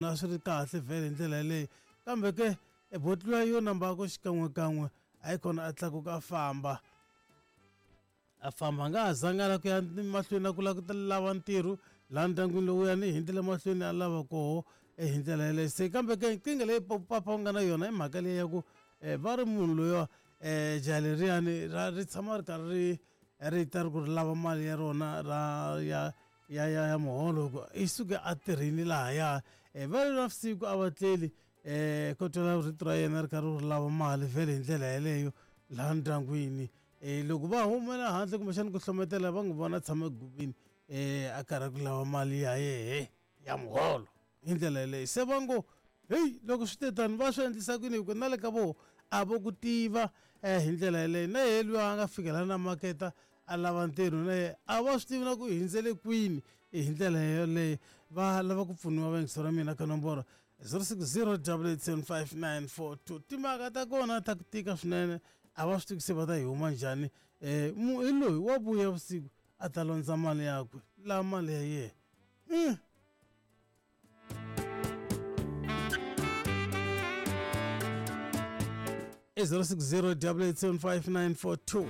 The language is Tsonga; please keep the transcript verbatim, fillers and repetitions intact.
A swi ri kahle vhele hi ndlela yaleyo, kambe ke boti luya yo namba ku xikan'wekan'we a yi kona a tlakuka a famba a famba a nga ha zanga la ku ya mahlweni na ku lava ku lava ntirho laha ndyangwini lowuyani hi ndlela mahlweni a lava koho hi ndlela yaleyo. Se kambe ke nkingha leyi papa u nga na yona i mhaka leyi ya ku va ri munhu loyiwa um jaha leriyani ra ri tshama ri karhi ri ri ta ri ku ri lava mali ya rona ra ya ya ya ya muholo ku i suke a tirhini lahaya. Va ri navusiku a va tleli um ko twala rito ra yena ri karhi ri lava mali vhele hi ndlela yeleyo laha ndyangwini. Um loko va humela handle kumbexana ku hlometela va n'wi vona a tshama egubini um a karhi ku lava mali ya yehe ya muholo hi ndlela yeleyo. Se va ngo heyi loko swi te tani va swi endlisa ku yini, hi ku na le ka voho a vo ku tiva um hi ndlela yeleyo. Na yehe luya a nga fikela na maketa a lava ntirho na yehe a va swi tivi na ku hi hundzele kwini hi ndlela yeleyo. Va lava ku pfuniwa vayingiseri va mina ka nomboro zero six zero double eight seven five nine four two. Timhaka ta kona ta ku tika swinene, a va swi tivi se va ta yi huma njhani. Um hi loyi wa vuya vusiku a ta londza mali yakwe laha mali ya yena. Mm. zero six zero double eight seven five nine four two.